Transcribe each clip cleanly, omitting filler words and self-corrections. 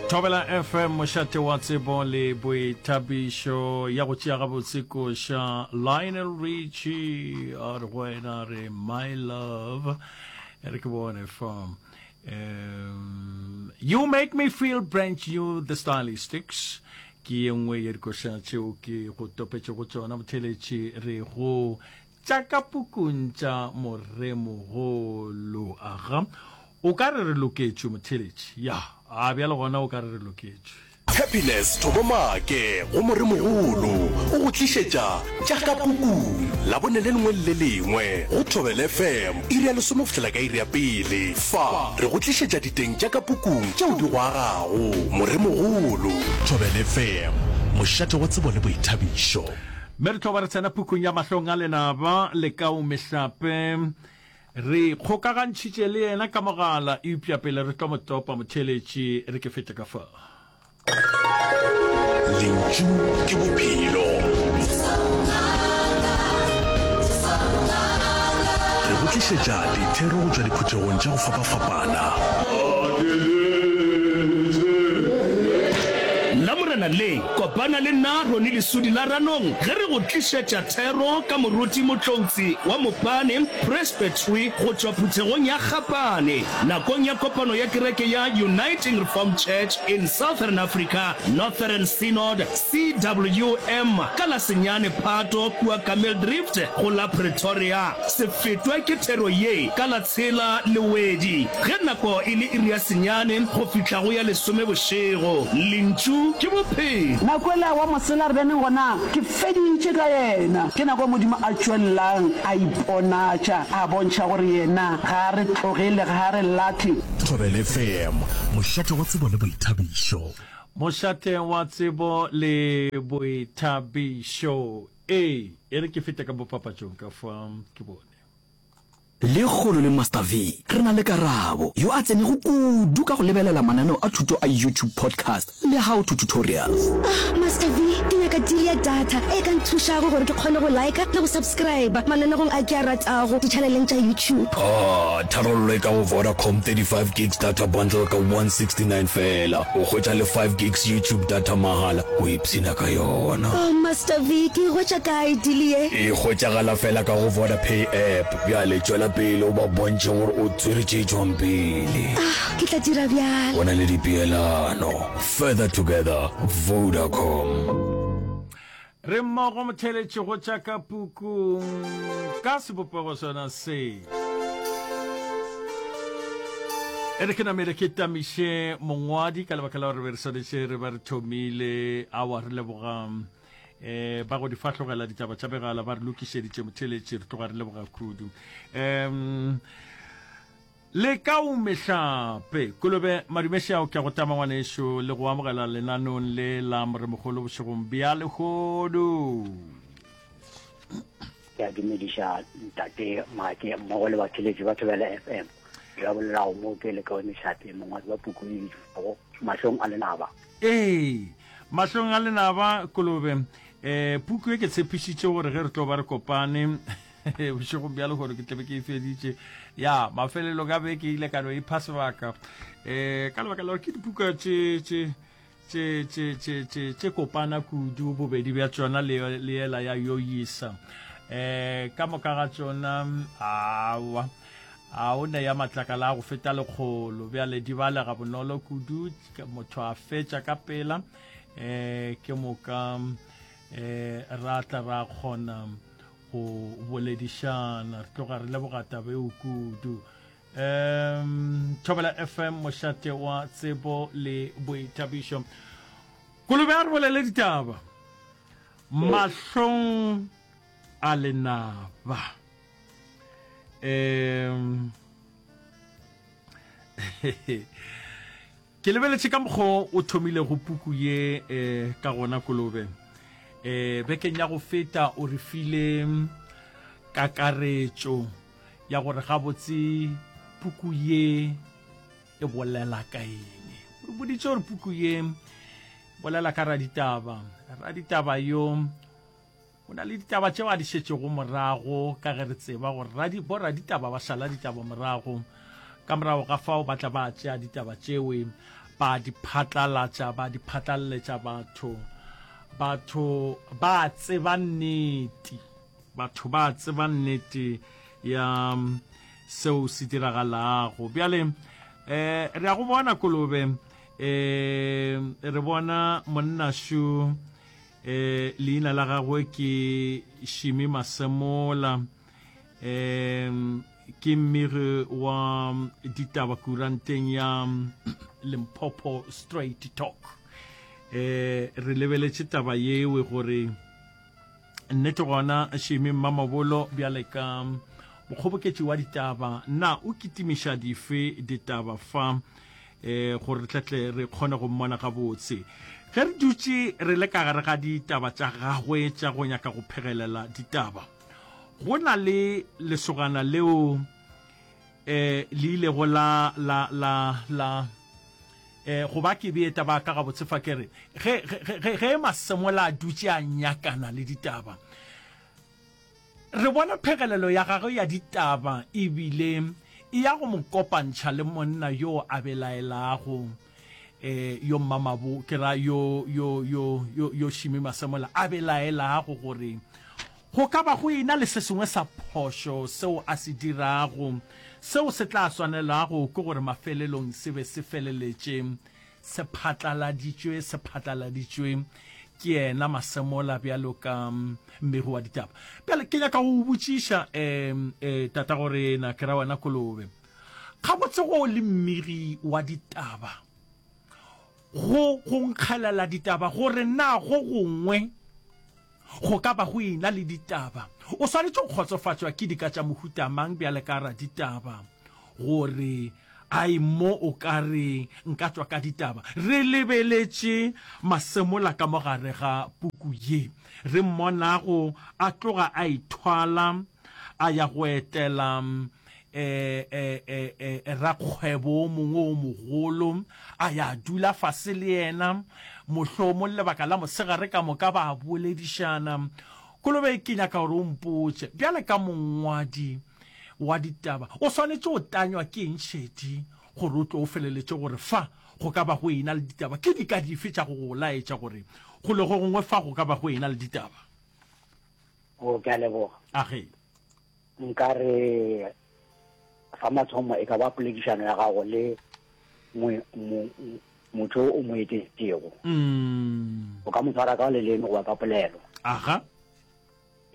Thobela FM mošate wa tsebo le boithabišo ya go tšea gabotse koša Lionel Richie a re go wena re my love e re ke bone fa um, you make me feel brand new the stylistics ke ye nngwe ya dikoša tšeo ke go topetšego tšona motheletši re go Tša ka pukung tša Moremogolo. Aga, o ka re re loketšwe, motheeletši. Ya, a bjale gona o ka re re loketšwe. Happiness Thobo Maake go Moremogolo o go tlišetša Tša ka Pukung Labone le lengwe le le lengwe go Thobela FM iri ya lesome go fihlela ka iri ya pele. Fa re go tlišetša diteng tša ka pukung tšeo di go agago. Moremogolo. Thobela FM, mošate wa tsebo le boithabišo. Mme re tlo ba re tsena pukung ya Mahlong a Lenaba, Lekau Mehlape. Re kgokagantšhitše le yena ka mogala, eupša pele re tlo mo topa, motheeletši, re ke fete ka fa. Lentšu ke bophelo. Re go tlišetša dithero go tšwa diphuthegong tša go fapafapana. Lamorena le, Kopana le nna Ronnie Lesudi la Ranong ge re go tlišetša thero ka Moruti Motloutsi wa Mopane Presbytery go tšwa phuthegong ya Gapane nakong ya kopano ya kereke ya Uniting Reformed Church in Southern Africa Northern Synod CWM ka la senyane Phato kua Kameeldrift go la Pretoria. Se fetwe ke thero ye ka la tshela Lewedi ge nako e le iri ya senyane go fihla go ya lesome bošego. Lentšu ke bophelo. Nako ela wa mosela re beneng gona, ke feditše ka yena. Ke nako Modimo a tšwelelang a iponatša, a bontšha gore yena ga a re tlogele, ga a re lahle. Thobela FM, mošate wa tsebo le boithabišo. Mošate wa tsebo le boithabišo. Ee, e re ke fete ka mo papatšong ka fa ke bone. Lekgolo le Master V re na le Karabo, yo a tsenego kudu ka go lebelela mananeo a thuto a YouTube Podcast le How to Tutorials. Ah, Master V, ke nyaka deal ya data e ka nthušago gore ke kgone go liker le go subscriber mananegong a ke a ratago ditšhaneleng tša YouTube. Ah, tharollo e ka go Vodacom 35 gigs data bundle ka 169 feela. O hwetša le 5 gigs YouTube data mahala. O ipshina ka yona. Oh, Master V, ke e hwetša kae deal ye? E hwetšagala fela ka go Vodapay app. Bjale tšwela pele o ba bontšhe gore o tswere tše tšwang pele. Ah, ke tla dira bjalo. Go na le dipeelano. Further together, Vodacom. Re mmogo motheeletši go tša ka pukung ka sebopego sona se. E re ke namele ke tamiše mongwadi ka lebaka la gore be re swanetše re ba re thomile awa re leboga um ba go di fahlogela ditaba tša megala ba re lokišeditše motheeletši re tloga re leboga kudu um Lekau Mehlape. Kolobe Madumešao ke a go tama ngwanešu le go amogela lenanong le la Moremogolo bošegong bja lehono. Ke a dumediša ntate Make mmogo le batheletši ba Thobela FM. Yo a bolelago mo ke Lekau Mehlape, mongwadi wa puku e bitšwago Mahlong a Lenaba. Ee, Mahlong a Lenaba, Kolobe. Eh, puku e ke tshepišitše gore ge re tlo ba re kopane bošegong bja lehono ke tlabe ke e feditše ya mafelelong a beke ile ka no ipha sebaka um ka lebaka la gore ke dipuka tše tše tše tše tše tše tše kopana kudu bobedi bja tšona le le yela ya yoyisa um ka moka ga tšona awa a o ne ya matlakala a go feta lekgolo bjale di balega bonolo kudu motho a fetša ka pela um ke moka um ra tla ra kgona go boledišana. Re tloga re leboga taba eo kudu. Um Thobela FM mošate wa tsebo le boithabišo. Kolobe a re bolele ditaba. Mahlong a lenaba. Um Ke lebeletše ka mokgo o thomilego puku ye eh, ka gona Kolobe. Eh, bekeng ya go feta o re file kakaretšo ya gore gabotse puku ye e bolela ka eng. O re boditše gore puku ye bolela ka raditaba. Raditaba yo Go na le ditaba tšeo a di šetšego morago ka ge re tseba gore radi, boraditaba ba šala ditaba morago. Ka morago ga fao ba tla ba tšea ditaba tšewe Ba di phatlalatša, ba di phatlalletša batho. Batho ba tseba nnete. Batho ba tseba nnete ya seo se diragalago. Bjale eh re ya go bona kolobe eh re bona monna shu eh leina la gagwe ke Shimi Masemola eh ke mmegi wa ditaba kuranteng ya Limpopo Straight Talk eh re lebeletše taba yewe gore Nnete gona, Shimi Mmamabolo bjale ka mokgoboketši wa ditaba, na o kitimiša dife ditaba fa e, gore re tletle re kgone go mmona gabotse? Ge re dutše re le ka gare ga ditaba tša gagwe tša go nyaka go phegelela ditaba, go na le lesogana leo eh le ilego la la la la eh go ba ke bee taba ka gabotse fa ke re ge ge ge ge Masemola a dutše a nyakana le ditaba re bona phegelelo ya gagwe ya ditaba ebile e ya go mo kopantšha le monna yo a belaelago eh yo mmamabo ke ra yo yo yo yo yo Shimi Masemola a belaelago gore Go ka ba go e-na le se sengwe sa phošo seo a se dirago, seo se tla swanelago ke gore mafelelong se be se feleletše se phatlaladitšwe, se phatlaladitšwe ke yena Masemola bjalo ka mmegi wa ditaba. Bjale ke nyaka go go botšiša, um, um, tatagorena, ke ra wena Kolobe, gabotse go le mmegi wa ditaba, go go nkgelela ditaba gore na go gongwe Go ka ba go e-na le ditaba. O swanetše go kgotsofatšwa ke dika tša mohuta mang bjale ka raditaba gore ai mo o ka re nka tšwa ka ditaba? Re lebeletše Masemola ka mo gare ga puku ye, re mmonago a tloga a ithwala a ya go etela rakgwebo o mongwe o mogolo, a ya dula fase le yena, mohlomong lebaka la mosegare ka moka ba boledišana. Kolobe, ke nyaka gore o mpotše, bjale ka mongwadi wa ditaba, o swanetše o tanywa ke eng šedi gore o tlo o feleletše gore fa go ka ba go ena le ditaba? Ke dika dife tša go go laetša gore golo go gongwe fa go ka ba go ena le ditaba? O, ke a leboga. Age. Nka re sa mathomo e ka ba poledišano ya gago le motho o mo etetšego. Mm. O ka mo tshwara ka leleme goba ka polelo. Aga.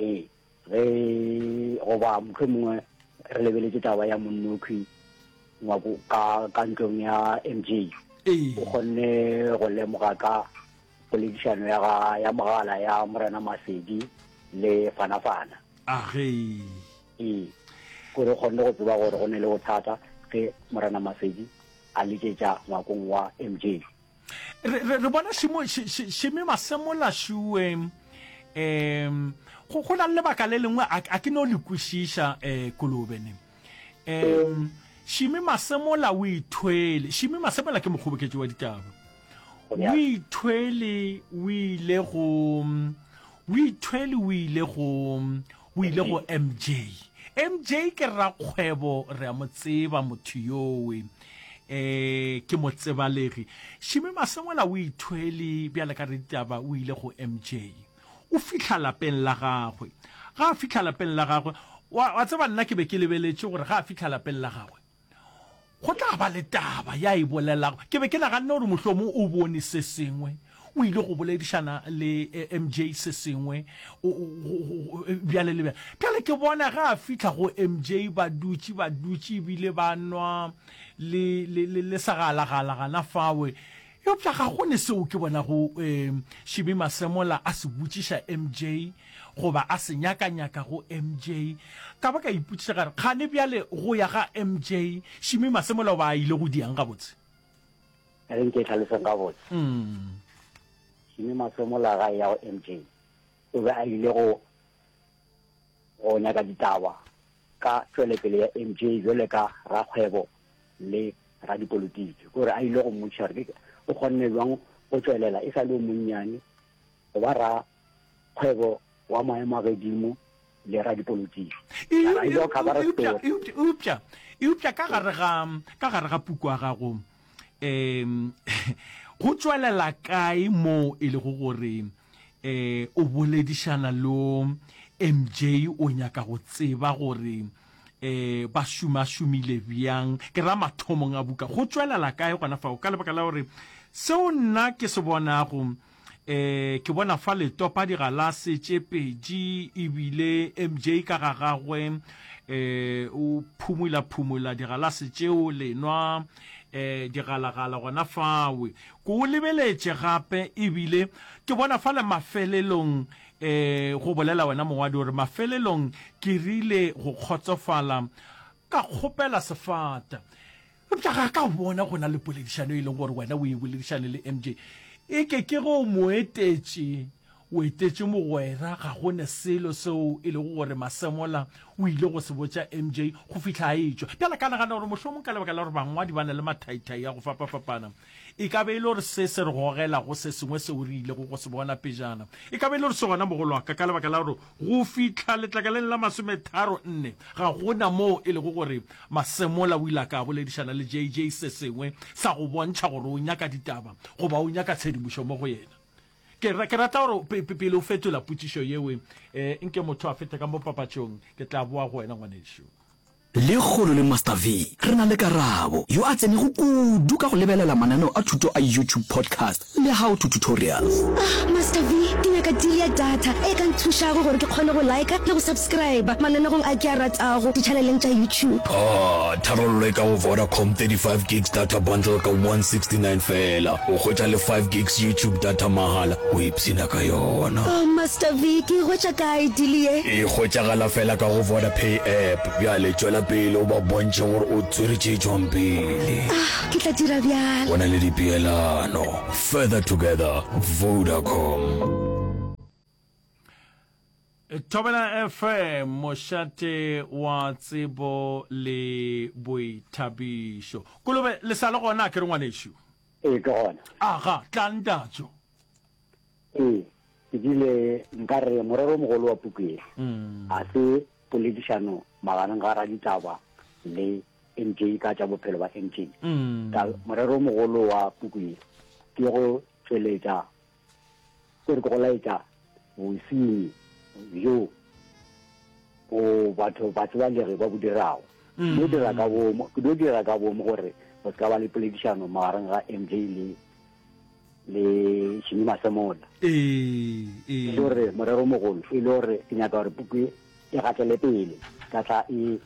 Ee, ge goba motho mongwe re lebeletše taba ya monnokhwi ngwako ka ka ntlong ya MJ. Ee. O kgonne go lemoga ka poledišano ya ga ya mogala ya Morena Masedi le Fanafana. Age. Ee, gore o kgonne go tseba gore go ne le bothata ge Morena Masedi a letšetša ngwakong wa MJ. Re, re, re bona šimo, š, š, šime masemola šue. Um, go, go na le lebaka le lengwe a, a ke no le kwešiša, eh, kolobe ne. Um, Šime Masemola o ithwele. Šime Masemola ke mokgoboketši wa ditaba. O ithwele o ile go o ithwele o ile go o ile go MJ. MJ ke rakgwebo re a mo tseba motho yowe. Eh ke motsebalegi. Šime Masemola o ithwele bjale ka re ditaba o ile go MJ. O fihla lapeng la gagwe. Ga a fihla lapeng la gagwe, wa, wa tseba nna ke be ke lebeletše gore ga a fihla lapeng la gagwe, go tla ba le taba ya e bolelago. Ke be ke naganne gore mohlomong o bone se sengwe, o ile go boledišana le eh, MJ se sengwe, o, o, go, go, bjale le bjale. Bjale ke bona ge a fihla go MJ ba dutše, ba dutše ebile ba nwa le, le, le, le segalagala gana fawe. Eupša ga go ne seo ke bonago Shimi Masemola a se botšiša MJ goba a se nyakanyaka go MJ. Ka ba ka ipotšiša ka re, kgane bjale go ya ga MJ, Shimi Masemola o ba a ile go diang gabotse? E re nke tlhaloseng gabotse. Shimi Masemola ga e ya go MJ, o be a ile go go nyaka ditaba ka tšwelepele ya MJ bjale ka rakgwebo le radipolotiki, kore a ile go mmotšiša gore ke o kgonne bjang go tšwelela e sa le o monnyane go ba rakgwebo wa maemo a gedimo le radipolotiki. Eupša, eupša ka gare ga, ka gare ga puku ya gago, um Um go tšwelela kae moo e lego gore um o boledišana le MJ o nyaka go tseba gore um ba šomašomile bjang? Ke ra mathomong a buka. Go tšwelela kae gona fao? Ka lebaka la gore seo nna ke se bonago E, ke bona fa le topa digalase tše pedi, ebile MJ ka ga gagwe e, o phumula-phumula digalase tšeo, le nwa e, digalagala gona fawe. Ke o lebeletše gape, ebile ke bona fa le mafelelong e, go bolela wena mongwadi gore mafelelong ke rile go kgotsofala ka kgopela sefata. Eupša ga ka bona go na le poledišano e leng gore wena o e boledišane le MJ. E ke ke ge o mo etetše, o etetše mogwera, ga go ne selo seo e lego gore Masemola o ile go se botša MJ go fihla a etšwa. Bjale ka nagana gore mohlomong ka lebaka la gore bangwadi ba na le mathaithai a go fapafapana, e ka be e le gore se se re gogela go se sengwe seo re ilego go se bona pejana. E ka be e le gore se gona mogolo wa ka, ka lebaka la gore go fihla letlakaleng la masometharo nne ga go na moo e lego gore Masemola o ile a ka boledišana le JJ se sengwe sa go bontšha gore o nyaka ditaba goba o nyaka tshedimošo mo go yena. Ke, ke rata gore pe, pe, pele o fetola potšišo yeo, eh, nke motho a fete ka mo papatšong, ke tla boa go wena ngwanešu. Lekgono le Master V re na le Karabo, yo a tsenego kudu ka go lebelela mananeo a thuto a YouTube podcast le how to tutorials. Ah, Master V, ke nyaka deal ya data e ka nthušago gore ke kgone go liker le go subscriber mananegong a ke a ratago ditšhaneleng tša YouTube. Ah, tharollo e ka go Vodacom 35 gigs data bundle ka 169 feela. O hwetša le 5 gigs YouTube data mahala, o ipshina ka yona. Oh, Master V, ke e hwetša kae deal ye? E hwetšagala feela ka go Vodapay app. Bjale tšwela pele o ba bontšhe gore o tswere tše tšwang pele. Ah, ke tla dira bjalo. Go na le dipeelano. Further together, Vodacom. Thobela FM, mošate wa tsebo le boithabišo. Kolobe, le sa le gona a ke re ngwanešu? Ee, ke gona. Aga, tla ntatšo. Ee, ke bile nka re morero o mogolo wa puku ye ga se poledišano magareng ga raditaba le MJ ka tša bophelo ba MJ. Ka morero o mogolo wa puku ye ke go tšweletša, ke re ke go laetša bosenyi bjo bo batho batsebalegi ba bo dirago. Ke dio dira ka boomo, ke dio dira ka boomo gore go se ka ba le poledišano magareng ga MJ le le Jimmy Masemola. Ee, ee. E le gore morero o mogolo e le gore ke nyaka gore puku e e gatele pele ka tla e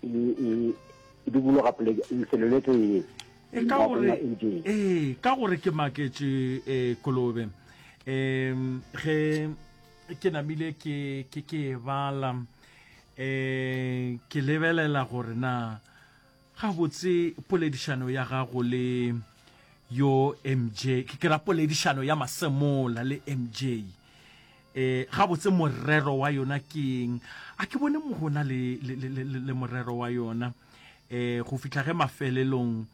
e e e dubologa poleke lefelo le tee. E ka gore ee ka gore ke maketše eh, kolobe um ge ke namile ke ke ke e bala um ke lebelela gore na Gabotse poledišano ya gago le yo MJ, ke ra poledišano ya Masemola le MJ, e, gabotse morero wa yona ke eng? A ke bone mo go na le, le, le, le, le morero wa yona e, go fihla ge mafelelong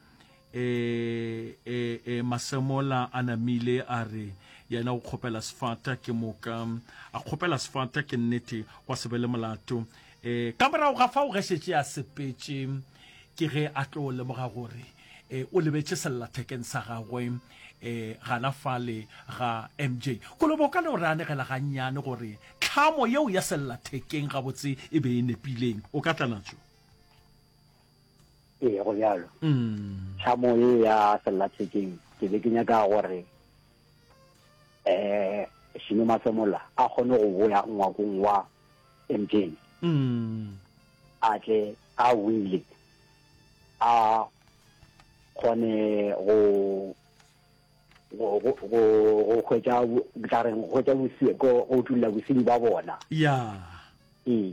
e, e, e, Masemola a namile a re yena o kgopela sefata ke moka a kgopela sefata ke nnete gwa se be le molato E, ka morago ga fao ge šetše a sepetše ke ge a tlo lemoga gore e, o lebetše sellathekeng sa gagwe e, gana fale ga MJ. Kolobe o ka no re anegela gannyane gore tlhamo yeo ya sellathekeng gabotse e be e nepileng. O ka tla natšo? Ee, go bjalo. Mm. Tlhamo ye ya sellathekeng ke be ke nyaka gore um Šime Masemola a kgone go boya ngwakong wa MJ a tle a wile a kgone go go go go hwetša tla reng go hwetša bosi go go utulla bosenyi ba bona ya ee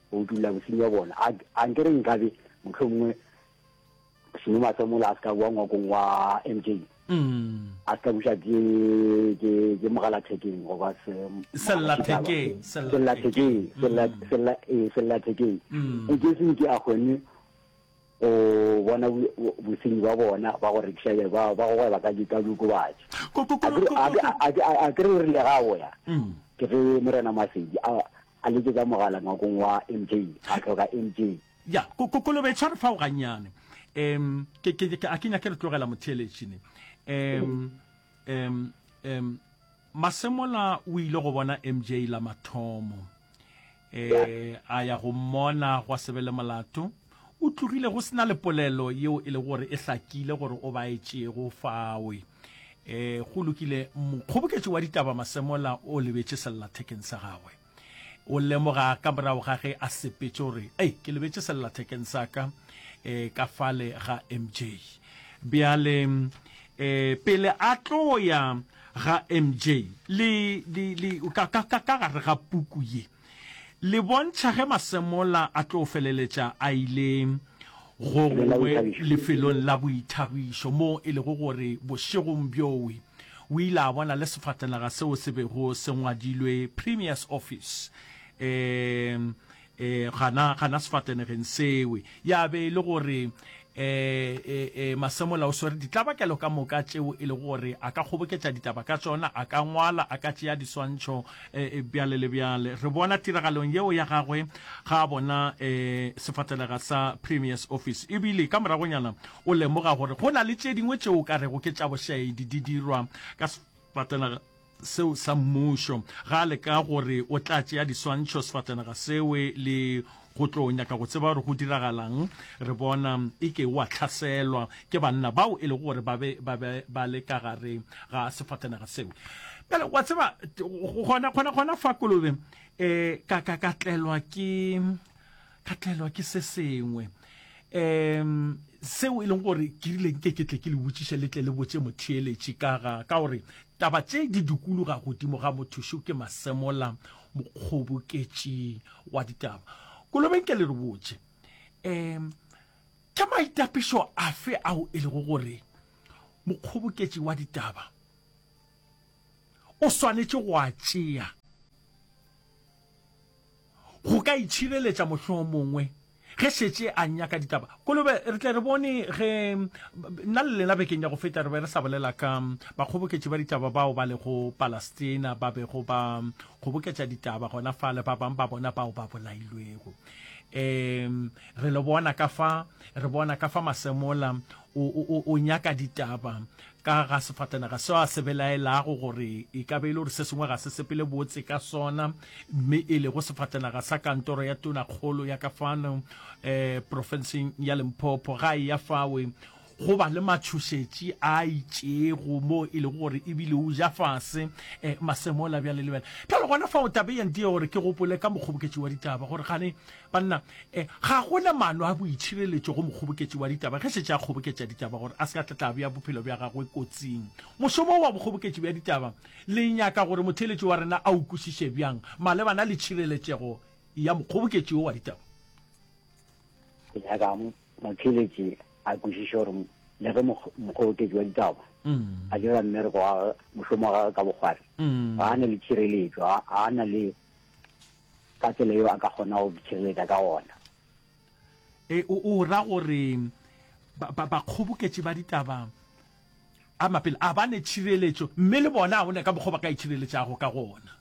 go utulla bosenyi ba bona a nkere nkabe mohlomongwe Seno Masemola a se ka boa ngwakong wa MJ. Mm. A se ka buša ke ke ke mogalathekeng goba se sellathekeng sellathekeng sella mm. sella eh sellathekeng. Mm. E ke se ke a kgone go bona bosenyi ba bona ba go rekiša ba ba go gweba ka ka diokobatši. A ke re o rile ga o ya. Mm. Ke ge Morena Masedi a a letsetsa mogala ngwakong wa MJ a tlhoka MJ. Ya, ko, ko, kolobe e tshware fao gannyane. Um ke ke ke a ke nyake re tlogela motheeletši ne. Um um um Masemola o ile go bona MJ la mathomo. Eh a ya go mmona gwa se be le molato. O tlogile go se na le polelo yeo e lego gore e hlakile gore o baetšego fawe. Eh go lokile mokgoboketši wa ditaba Masemola o lebetše sellathekeng sa gagwe. O lemoga ka morago ga ge a sepetše gore ei ke lebetše sellathekeng sa ka eh ka fale ga MJ. Bjale eh pele a tlo ya ga MJ le, le, le, ka, ka, ka, ka gare ga puku ye, le bontšha ge Masemola a tlo feleletša a ile go gongwe lefelong la boithabišo moo e lego gore bošegong bjowe o ile a bona le sefatanaga seo se bego se ngwadilwe Premier's Office. Um E, gana, gana sefatanegeng sewe. Ya be e le gore e, e, e, Masemola o swere ditlabakelo ka moka tšeo e lego gore a ka kgoboketša ditaba ka tšona, a ka ngwala, a ka tšea diswantšho, e, e, bjale le bjale. Re bona tiragalong yeo ya gagwe ga a bona e, sefatanega sa Premier's Office. Ebile ka moragonyana o lemoga gore go na le tše dingwe tšeo o ka rego ke tša bošaedi di dirwa ka sefatanaga seo sa mmušo. Ga a leka gore o tla tšea diswantšho sefatanaga sewe le go tlo nyaka go tseba gore go diragalang, re bona e ke o a hlaselwa ke banna bao e lego gore ba be ba be ba le ka gare ga sefatanaga seo. Bjale wa tseba gona gona gona fa Kolobe eh ka ka ka tlelwa ke ka tlelwa ke se sengwe um seo e leng gore ke rile nke ke tle ke le botšiše le tle le botše motheeletši ka ga ka gore taba tše di dikologa godimo ga motho šo ke Masemola mokgoboketši wa ditaba. Kolobeng ke le re botše um ke maitapišo afe ao e lego gore mokgoboketši wa ditaba o swanetše go a tšea Go ka itšhireletša mohlomongwe ge šetše a nyaka ditaba. Kolobe, re tle re bone ge nna le lena bekeng ya go feta re be re sa bolela ka bakgoboketši ba ditaba bao ba lego Palestina ba bego ba kgoboketša ditaba gona fale, ba bang ba bona bao ba bolailwego. Um re le bona ka fa, re bona ka fa Masemola o, o, o nyaka ditaba Ka ga sefatanaga seo a se belaelago gore e ka be e le gore se sengwe ga se sepele botse ka sona, mme e lego sefatanaga sa kantoro ya tonakgolo ya ka fano um profenseng ya Limpopo, ga e ya fawe go ba le matšhošetši a itšego mo e lego gore ebile o ja fase um masemola bjale le bjale. Bjale gona fao taba e ya ntia gore ke gopole ka mokgoboketši wa ditaba gore gane Banna, e, ga go na maano a boitšhireletšo go mokgoboketši wa ditaba ge šetše a kgoboketša ditaba gore a se ka tla tla bea bophelo bja gagwe kotsing. Mošomo wa bokgoboketši bja ditaba le nyaka gore motheeletši wa rena a o kwešiše bjang malebana le tšhireletšego ya mokgoboketši wo wa ditaba? Ke nyaka motheeletši a kwešiše gore le ge mokgoboketši wa ditaba a dira mmereko wa gagwe, mošomo wa gagwe ka bokgwari, ga a na le tšhireletšo, ga a na le ka tsela yeo a ka kgonago go itšhireletša ka gona. E, o, o ra gore ba, ba, bakgoboketši ba ditaba a mapele a ba ne tšhireletšo, mme le bona ga go ne ka mokgwa ba ka itšhireletšago ka gona.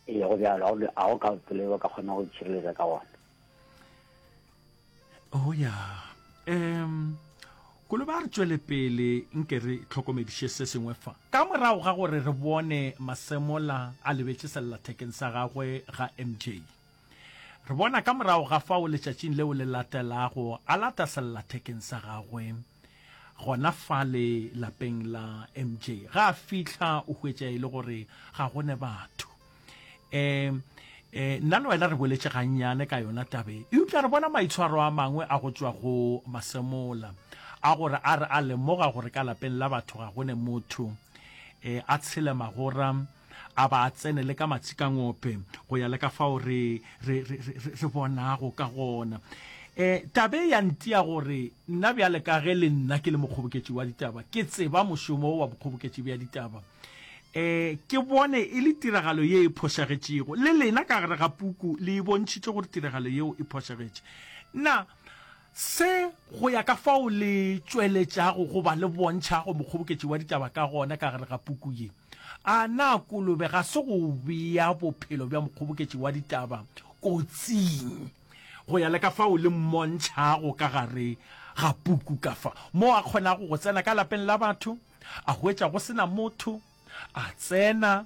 Ee, go bjalo, ga go ka tsela yeo ba ka kgonago go itšhireletša ka gona. Oh ya. Um Kolobe a re tšwele pele nke re hlokomediše se sengwe fa. Ka morago ga gore re bone Masemola a lebetše sellathekeng sa gagwe ga MJ. Re bona ka morago ga fao letšatšing leo le latelago a lata sellathekeng sa gagwe gona fale lapeng la MJ. Ga a fihla o hwetša e le gore ga go ne batho. Um eh, nna le wena re boletše gannyane ka yona tabe, eupša re bona maitshwaro a mangwe a go tšwa go Masemola a gore a re a lemoga gore ka lapeng la batho ga go ne motho, eh, a tshele magora a ba a tsene le ka matsikangope go ya le ka fao re, re, re, re, re bonago ka gona. Eh, tabe ya ntia gore nna bjale ka ge le nna ke le mokgoboketši wa ditaba, ke tseba mošomo wa bokgoboketši bja ditaba, E, ke bone e le tiragalo ye e phošagetšego. Le lena ka gare ga puku le e bontšhitše gore tiragalo yeo e phošagetše. Na se go ya ka fao le tšweletšago goba le bontšhago mokgoboketši wa ditaba ka gona ka gare ga puku ye? A na kolobe ga se go bea bophelo bja mokgoboketši wa ditaba kotsing go ya le ka fao le mmontšhago ka gare? ga puku ka fa, moo a kgonago go tsena ka lapeng la batho, a hwetša go se na motho, a tsena,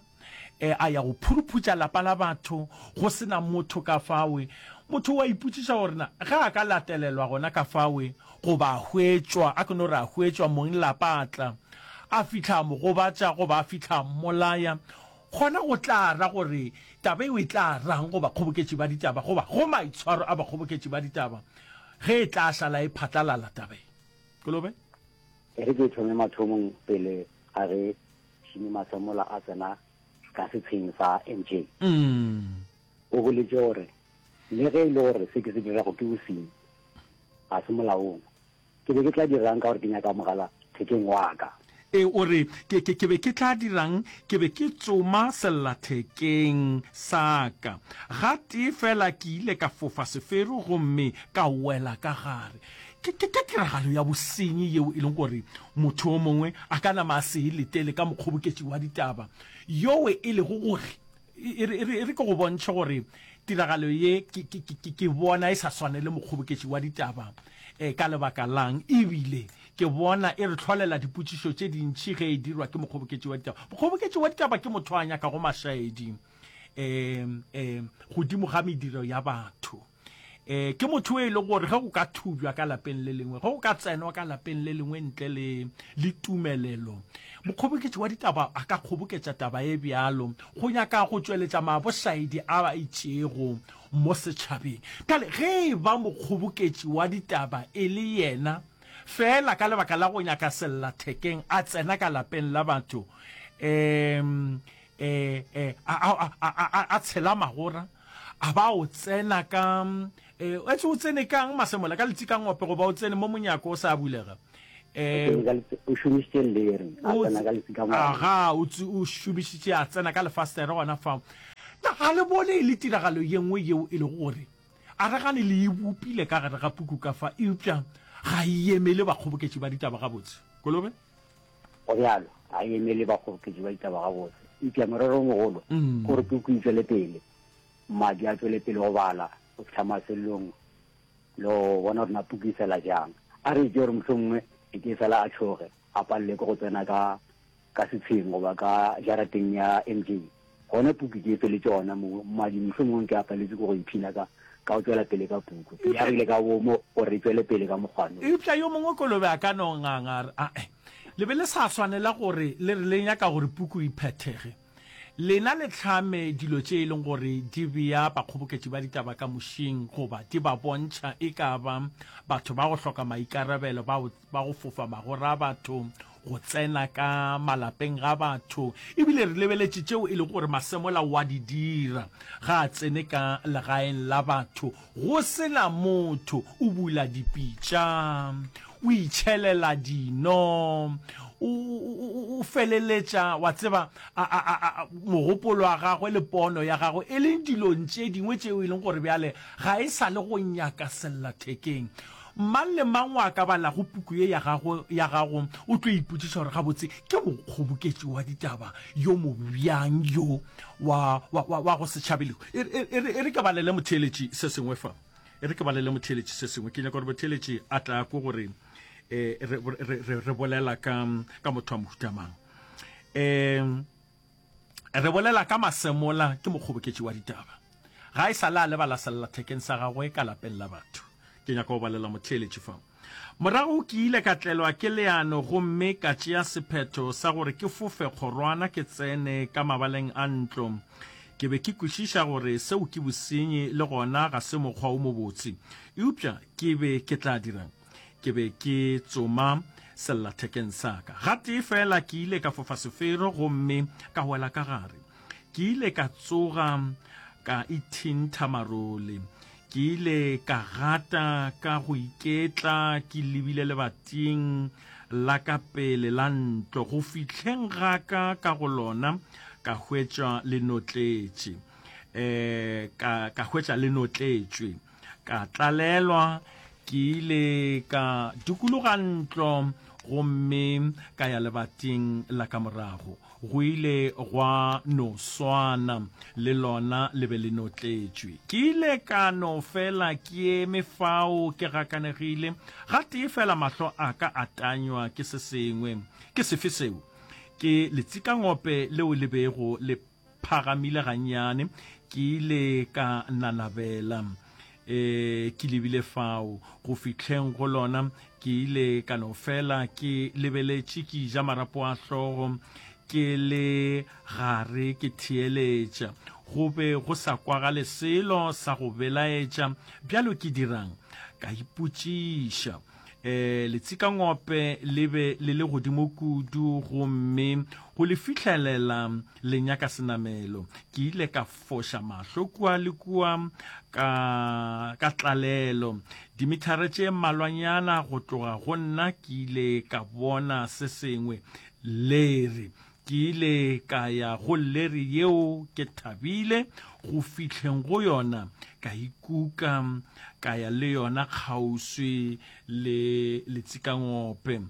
e, a ya go phuruphutša lapa la batho, go se na motho ka fawe. Motho o a ipotšiša gore na ge a ka latelelwa gona ka fawe, goba a hwetšwa, a ke no re a hwetšwa, mong lapa a tla, a fihla a mo gobatša goba a fihla a mmolaya, gona go tla ra gore taba eo e tla rang go bakgoboketši ba ditaba goba go maitshwaro a bakgoboketši ba ditaba ge e tla šala e phatlalala taba e? Kolobe? E re ke thome mathomong pele ga ge Jimmy Masemola a tsena ka setsheng sa MJ. O boletše gore, Le ge e le gore se ke se dirago ke bosenyi, ga se molaong. Ke be ke tla dira'ng ka gore ke nyaka mogala thekeng wa ka? Ee, o re, Ke, ke, ke be ke tla dira'ng? Ke be ke tsoma sellathekeng sa ka. Gatee feela ke ile ka fofa sefero gomme ka wela ka gare. Ke, ke, ke tiragalo ya bosenyi yeo e leng gore motho yo mongwe a ka nama a se e letele ka mokgoboketši wa ditaba yowe e lego gore, e re, e re, e re ke go bontšhe gore tiragalo ye ke, ke, ke, ke bona e sa swanele mokgoboketši wa ditaba eh, ka lebaka lang, ebile ke bona e re hlolela dipotšišo tše dintši ge e dirwa ke mokgoboketši wa ditaba. Mokgoboketši wa ditaba ke motho a nyakago mašaedi eh, eh, godimo ga mediro ya batho. E, ke motho e lego gore ge go ka thubjwa ka lapeng le lengwe, ge go ka tsenwa ka lapeng le lengwe ntle le, le tumelelo, mokgoboketši wa ditaba a ka kgoboketša taba e bjalo go nyaka go tšweletša mabošaedi a a itšego mo setšhabeng. Bjale ge e ba mokgoboketši wa ditaba e le yena feela ka lebaka la go nyaka sellathekeng a tsena ka lapeng la batho, um, e, e, a, a, a, a, a tshela magora, A ba o tsena ka, e, etse o tsene kang Masemola, ka letsikangope goba o tsene mo monyako o sa bulega? E, o šomišitše leri, a tsena ka letsikangope. Aga, o, o šomišitše a tsena ka lefastere gona fao. Na ga le bone e le tiragalo ye nngwe yeo e lego gore a re gane le e bopile ka gare ga puku ka fa, eupša ga e emele bakgoboketši ba ditaba gabotse? Kolobe? Go bjalo, ga e emele bakgoboketši ba ditaba gabotse. Eupša morero o mogolo ke gore puku e tšwele pele, mmadi a tšwele pele go bala go fihla mafelelong le go bona gore na puku e fela bjang. A re itše gore mohlomongwe e ke fela a tšhoge, a palelwe ke go tsena ka ka setsheng goba ka jarateng ya MJ. Gona puku ke e feletše gona moo, mmadi mohlomongwe ke a paletšwe ke go iphina ka ka go tšwela pele ka puku. Ke agile ka boomo gore e tšwele pele ka mokgwa no. Eupša yo mongwe kolobe a ka no nganga a re, Ae, le be le sa swanela gore le re le nyaka gore puku e phethege. Lena le hlame dilo tše e leng gore di bea bakgoboketši ba ditaba ka mošing goba di ba bontšha e ka ba batho ba go hloka maikarabelo bao ba go fofa magora a batho, go tsena ka malapeng ga batho, ebile re lebeletše tšeo e lego gore Masemola wa di dira ga a tsene ka legaeng la batho go se na motho, o bula dipitša, o itšhelela dino, o, o, o feleletša, wa tseba, a, a, a, a, mogopolo wa gagwe le pono ya gagwe e leng dilong tše dingwe tšeo e leng gore bjale ga e sa le go nyaka sellathekeng. Mang le mang o a ka balago puku ye ya gago, ya gago o tlo ipotšiša gore gabotse ke mokgoboketši wa ditaba yo mobjang yo wa, wa, wa, wa go se tšhabe lehu. E, e, e, e re ke balele motheeletši se sengwe fa. E re ke balele motheeletši se sengwe. Ke nyaka gore motheeletši a tla ko gore eh, re, re, re, re bolela ka, ka motho wa mohuta mang. Eh, Re bolela ka Masemola, ke mokgoboketši wa ditaba. Ga e sa le a lebala sellathekeng sa gagwe ka lapeng la batho. Ke nyaka go balela motheeletši fa. Morago ke ile ka tlelwa ke leano gomme ka tšea sephetho sa gore ke fofe kgorwana ke tsene ka mabaleng a ntlo. Ke be ke kwešiša gore seo ke bosenyi le gona ga se mokgwa o mobotse. Eupša ke be ke tla dira'ng? Ke be ke tsoma sellathekeng sa ka. Gatee feela ke ile ka fofa sefero gomme ka wela ka gare. Ke ile ka tsoga ka ithintha marole. Ke ile ka gata ka go iketla ke lebile lebating la ka pele la ntlo. Go fihleng ga ka ka go lona ka hwetša le notletše. Um ka, ka hwetša le notletšwe. Ka tlalelwa, ke ile ka dikologa ntlo. gomme ka ya lebating la ka morago. Go ile gwa no swana, le lona le be le notletšwe. Ke ile ka no fela ke eme fao ke gakanegile. Gatee fela mahlo a ka a tanywa ke se sengwe. Ke sefe seo? Ke letsikangope leo le bego le phagamile gannyane. Ke ile ka nanabela e, ke lebile fao. Go fihleng go lona, ke ile ka no fela ke lebeletše, ke ja marapo a hlogo, ke le gare ke theeletša. Go be go sa kwagale selo sa go belaetša. Bjalo ke dira'ng? Ka ipotšiša. E, letsikangope le be le le godimo kudu gomme go le fihlelela le nyaka senamelo. Ke ile ka foša mahlo kua le kua ka, ka tlalelo. Dimithara tše mmalwanyana go tloga go nna ke ile ka bona se sengwe, leri. Ke ile ka ya go leri yeo ke thabile go fihleng go yona, ka ikuka ka ya le yona kgauswi le letsikangope.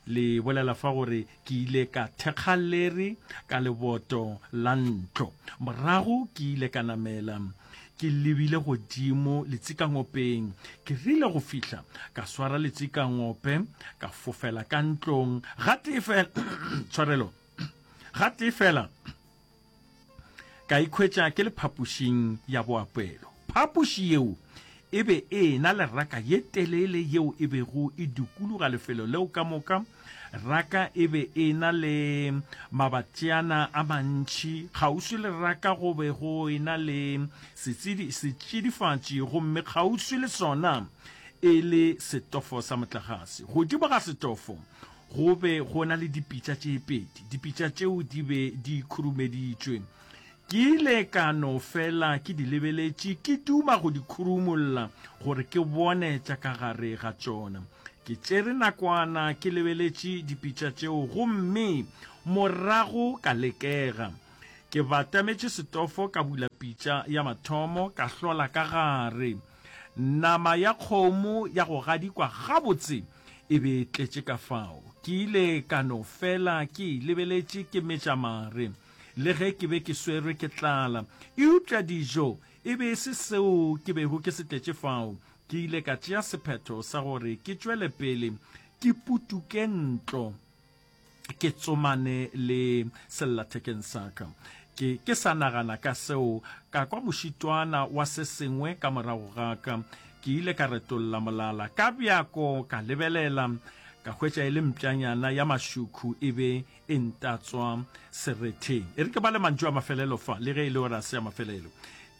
Le bolela fa gore Ke ile ka thekga leri ka leboto la ntlo. Morago ke ile ka namela ke lebile godimo letsikangopeng. Ke rile go fihla ka swara letsikangope ka fofela ka ntlong gatee fela, tshwarelo, gatee fela Ka ikhwetša ke le phapošing ya boapeelo. Phapoši yeo e be e e-na le raka ye telele yeo e bego e dikologa lefelo leo ka moka. Raka e be e e-na le mabatšana a mantši. Kgauswi le raka go be go e-na le setšidifatši gomme kgauswi le sona e le setofo sa motlagase. Godimo ga setofo Go be go na le dipitša tše pedi. Dipitša tšeo di be di khurumeditšwe. Ke ile ka no fela ke di lebeletše, ke duma go di khurumolla gore ke bone tša ka gare ga tšona. Ke tšere nakwana ke lebeletše dipitša tšeo gomme morago ka lekega. Ke batametše setofo ka bula pitša ya mathomo ka hlola ka gare. Nama ya kgomo ya go gadikwa gabotse e be e tletše ka fao. Ke ile ka no fela ke e lebeletše ke metša mare. Le ge ke be ke swerwe ke tlala, eupša dijo e be e se seo ke bego ke se tletše fao. Ke ile ka tšea sephetho sa gore ke tšwele pele ke putuke ntlo. ke tsomane le sellathekeng sa ka. Ke, ke sa nagana ka seo, ka kwa mošitwana wa se sengwe ka morago ga ka. Ke ile ka retolla molala ka bjako, ka lebelela, ka hwetša e le mpšanyana ya mašukhu e be e ntatswa seretheng. E re ke bale mantšu a mafelelo fa, le ge e le gore a se a mafelelo.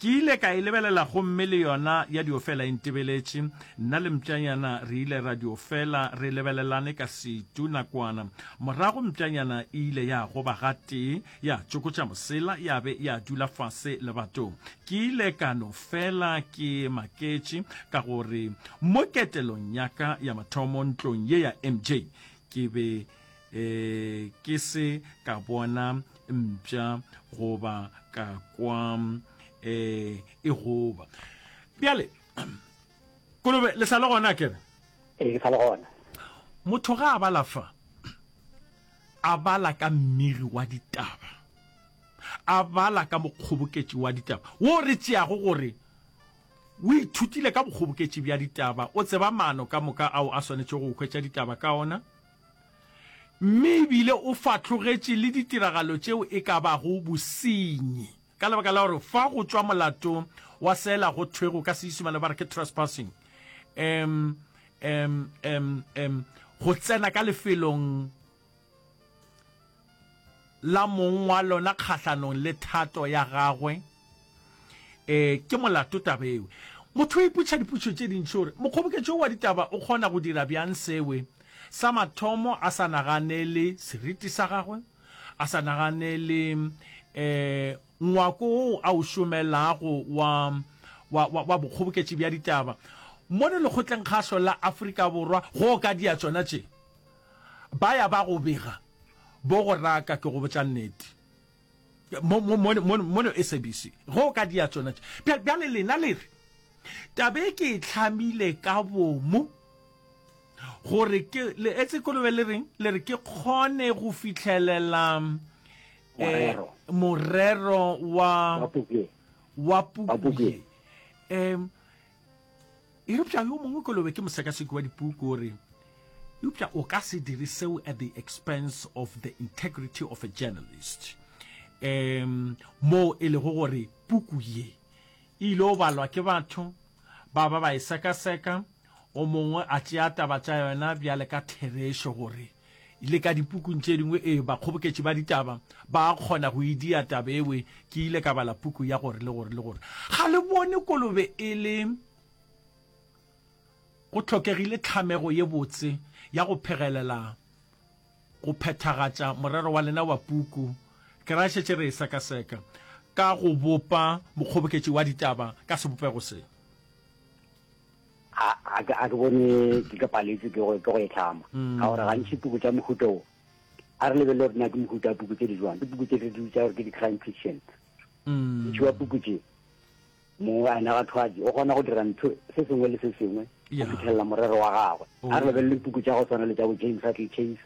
Ke ile ka e lebelela gomme le yona ya dio fela e ntebeletše. Nna le mpšanyana re ile ra dio fela re lebelelane ka setu nakwana. Morago mpšanyana e ile ya goba gatee, ya tšokotša mosela ya be ya dula fase lebatong. Ke ile ka no fela ke maketše ka gore mo ketelong ya ka ya mathomo ntlong ye ya MJ ke be E, ke se ka bona mpša goba ka kwa e, e goba. Bjale, Kolobe, le sa le gona kere? Ee, ke sa le gona. Motho ga a bala fa, a bala ka mmiri wa ditaba, a bala ka mokgoboketši wa ditaba, wo re tšeago gore o ithutile ka bokgoboketši bja ditaba, o tseba maano ka moka ao a swanetšego go hwetša ditaba ka ona, mme e bile o fahlogetše le ditiragalo tšeo e ka bago bosenyi ka lebaka la gore fa go tšwa molato wa sela go thwego ka Seisemane ba re ke trespassing, um, um, um, um, go tsena ka lefelong la mong wa lona kgahlanong le thato ya gagwe, e, ke molato taba ewe. Motho o ipotšiša dipotšišo tše dintši gore mokgoboketšo wa ditaba o kgona go dira bjang sewe. Sa mathomo a sa naganele seriti sa gagwe, a sa naganele um ngwako woo a o šomelago wa, wa, wa, wa bokgoboketši bja ditaba. Mono Lekgotlengkgašo la Afrika Borwa go ka dia tšona tše. Ba ya ba go bega, bo go raka, ke go botša nnete. Mo, mo, mo, mo, mono SABC, ge o ka dia tšona tše. Bjale, bjale lena le re, Taba e ke e hlamile ka bomo. Gore ke, le etse kolobe le reng? Le re ke kgone go fihlelela eh, Morero. morero wa, Wa puku ye. wa Wa puku puku ye. ye. Em, eupša yo mongwe kolobe ke mosekaseki wa dipuku o re, eupša o ka se dire seo at the expense of the integrity of a journalist. Em, moo e lego gore puku ye e ile go balwa ke batho ba ba ba e sekaseka, o mongwe a tšea taba tša yona bjale ka therešo gore le ka dipukung tše dingwe ee bakgoboketši ba ditaba ba kgona go e dia taba ewe ke ile ka bala puku ya gore le gore le gore ga le bone kolobe e le go hlokegile tlhamego ye botse ya go phegelela go phethagatša morero wa lena wa puku ke ra šetše re e sekaseka ka go bopa mokgoboketši wa ditaba ka sebopego se. A, a, a ke bone ke ke paletswe ke go, ke go e hlama. Ka gore gantši puku tša mohuta wo, a re lebelele gore na ke mohuta wa puku tše di jwang. Ke puku tše re di bitša gore ke di-crime fiction. Ntši wa puku tše, moanegwathwadi o kgona go dira ntho se sengwe le se sengwe go fitlhelela morero wa gagwe. A re lebelele puku tša go tshwana le tša bo James Hadley Chase,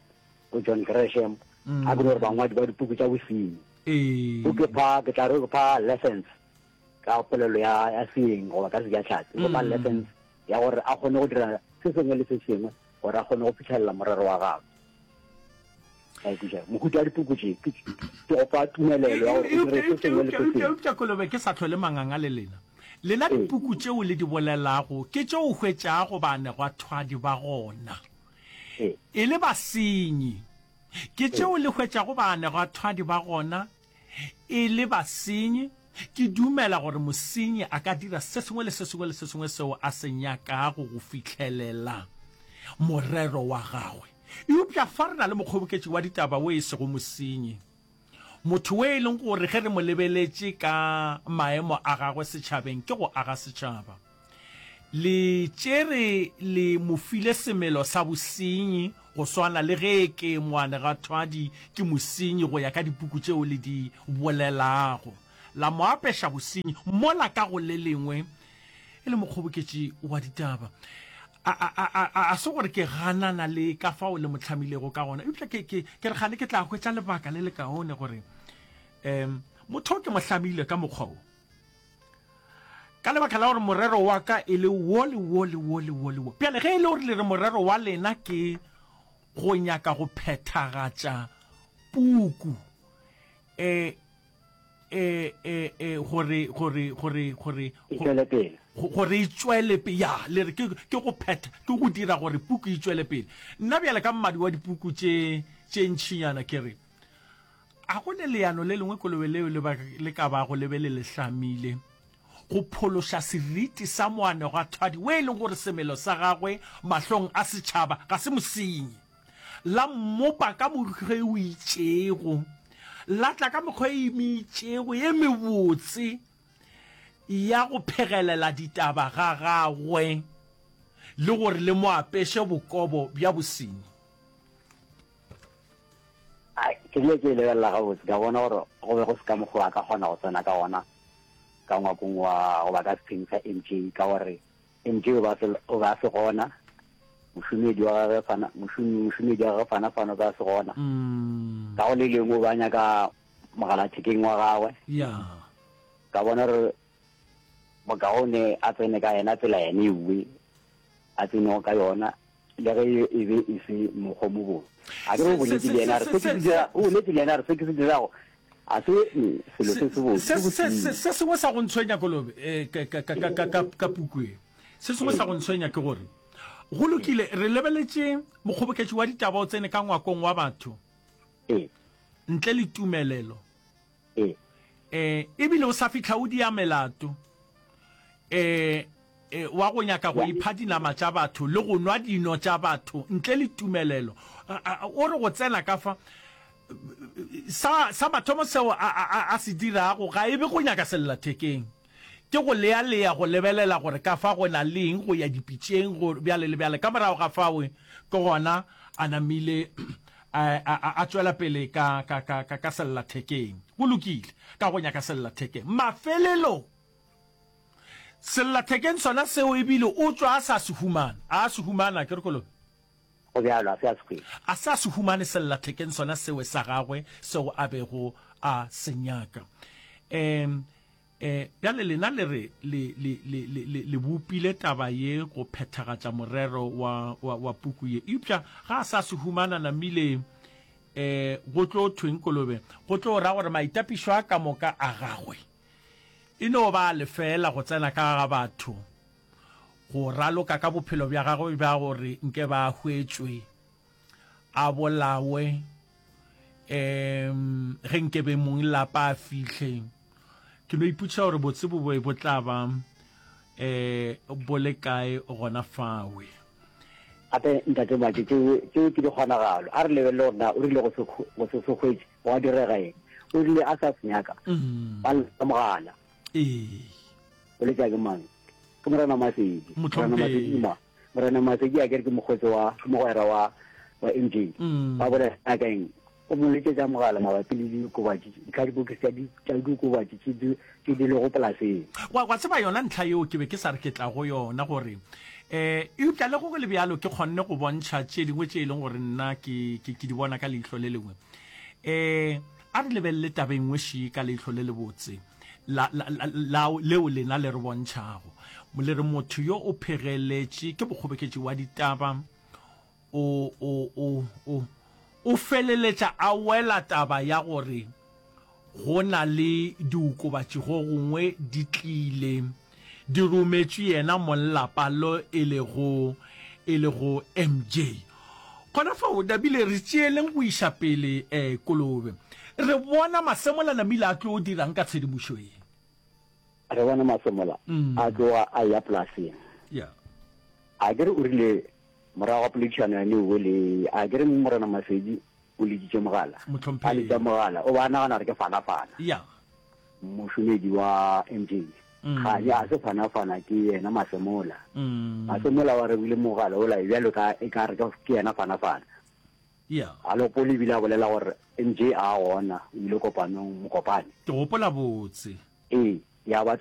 bo John Gresham, a ke no gore bangwadi ba dipuku tša bosenyi. O ke fa, ke tla re o ke fa lessons ka polelo ya, ya seeng goba ka sejatlhatsi, o fa lessons ya gore a kgone go dira se sengwe le se sengwe gore a kgone go fitlhelela morero wa gagwe. A ikweša. Mohuta wa dipuku tše ke ke go fa tumelelo ya gore o dire se sengwe le se sengwe. Eupša Kolobe ke sa hlole manganga le lena. Lena dipuku tšeo le di bolelago ke tše o hwetšago baanegwathwadi ba gona e le basenyi. Ke tšeo le hwetšago baanegwathwadi ba gona e le basenyi. Ke dumela gore mosenyi a ka dira se sengwe le se sengwe le se sengwe seo a se nyakago go fihlelela morero wa gagwe. Eupša fa re na le mokgoboketši wa ditaba wo e sego mosenyi, motho wo e leng gore ge re mo lebeletše ka maemo a gagwe setšhabeng ke go aga setšhaba. Le tšere le mo file semelo sa bosenyi go swana le ge ke moanegathwadi ke mosenyi go ya ka dipuku tšeo le di bolelago. La mo apeša bosenyi mola ka go le lengwe e le mokgoboketši wa ditaba. A, a, a, a, a se gore ke ganana le ka fao le mo hlamilego ka gona, eupša ke, ke, ke re kgane ke tla hwetša lebaka le lekaone gore um motho o ke mo hlamile ka mokgwa wo. Ka lebaka la gore morero wa ka e le wo le wo le wo le wo le wo. Bjale ge e le gore le re morero wa lena ke go nyaka go phethagatša puku, e, e, e, e, gore, gore, gore, gore, E tšwele pele. gore e tšwele pele, ya, le re ke, ke go phetha, ke go dira gore puku e tšwele pele. Nna bjale ka mmadi wa dipuku tše, tše ntšinyana ke re, A go ne leano le lengwe kolobe leo le ba, le ka bago le be le le hlamile go phološa seriti sa moanegwathwadi we e leng gore semelo sa gagwe mahlong a setšhaba ga se mosenyi? La mmopa ka mokgwa e o itšego, la tla ka mekgwa e meitšego ye mebotse ya go phegelela ditaba ga gagwe le gore le mo apeše bokobo bja bosenyi. Ai, ke rile ke e lebelela gabotse, ka bona gore go be go se ka mokgwa a ka kgona go tsena ka gona ka ngwakong wa goba ka sepheng sa MJ, ka gore MJ o be a se, o be a se gona, mošomedi wa gagwe Fana, mošomi, mošomedi wa gagwe Fana Fana o be a se gona. Ka go le lengwe o be a nyaka mogalathekeng wa gagwe. Ya. Ka bona gore bokaone a tsene ka yena tsela yene ewe a tsenego ka yona, le ge e be e se mokgwa o mobotse. A ke re o boletše le yena a re, se ke se dira, o boletše le yena a re, se ke se dirago ga se selo se sebotse, ke bosenyi. Se sengwe sa go ntshwenya, Kolobe, ka puku e, se sengwe sa go ntshwenya ke gore, go lokile, re lebeletše mokgoboketši wa ditaba o tsene ka ngwakong wa batho ntle le tumelelo, E, ebile o sa fihla o dia melato e, e, wa go nyaka go ipha dinama tša batho le go nwa dino tša batho ntle le tumelelo. O re go tsena ka fa, sa, sa mathomo seo a, a, a se dirago ga e be go nyaka sellathekeng. Ke go lealea go lebelela gore ka fa go na le eng go ya dipitšeng, go bjale le bjale. Ka morago ga fao ke gona a namile a, a, a tšwela pele ka, ka, ka, ka, ka sellathekeng. Go lokile, ka go nyaka sellathekeng. Mafelelong, sellathekeng sona seo ebile o tšwa a sa se humana. A se humana, ke re kolobe. Go bjalo, a se a se hwetše. A se a se humane sellathekeng sona sewe sa gagwe seo a bego a se nyaka. Um, um, bjale lena le re le, le, le, le, le, le bopile taba ye go phethagatša morero wa, wa, wa puku ye. Eupša ga a sa se humana namile, um, go tlo thweng kolobe? Go tlo ra gore maitapišo a ka moka a gagwe e no ba a lefeela go tsena ka ga batho. Go raloka ka bophelo bja gagwe bja gore nke ba hwetšwe, a bolawe, um ge nke be mong lapa a fihle. Ke no ipotšiša gore botse bo be bo tla ba um bo le kae gona fawe. Gape, Ntate Matše, tšeo, tšeo ke dikgonagalo. A re lebelele gore na o rile go se, go se se hwetše, gwa direga eng. O rile a sa se nyaka, ba lla mogala. Ee. O letša ke mang? Ke Morena Masedi. Morena Masedi ke mang? Morena Masedi a kere ke mokgotsi wa, ke mogwera wa, wa MJ. Mm. Ba bolela ka eng? O mo letšetša mogala mabapi le diokobatši, dikhadibokisi tša di, tša diokobatši tše di, tše di lego polaseng. Wa, wa tseba yona ntlha yeo ke be ke sa re ke tla go yona gore, eh, eupša le go go le bjalo ke kgonne go bontšha tše dingwe tše e leng gore nna ke, ke, ke di bona ka leihlo le lengwe. Eh, a re lebelele taba e nngwe še ka leihlo le lebotse. la, la, la, la, leo lena le re bontšhago. Le re motho yo o phegeletše ke mokgoboketši wa ditaba, o, o, o, o, o feleletša a wela taba ya gore go na le diokobatši go gongwe di tlile di rometšwe yena monglapa lo e lego, e lego MJ. Gona fao, Dabile, re tšeeleng go iša pele eh, kolobe. Re bona Masemola namile a tlo dirang ka tshedimošo ye? Re bona Masemola a tloga a eya polaseng. Yeah. A ke re o rile morago ga poledišano ya Newe le, a ke re Morena Masedi o leditše mogala. Mohlomphegi. A letša mogala, o be a nagana gore ke fanafana. Yeah. Mošomedi wa MJ. Kgane a se fanafana ke yena Masemola. Masemola wa rebile mogala ola bjalo ka e ka re ke yena fanafana. Yeah. A lopole ebile a bolela gore MJ a gona o ile kopanong Mokopane. Ke gopola botse. Ee, ya ba.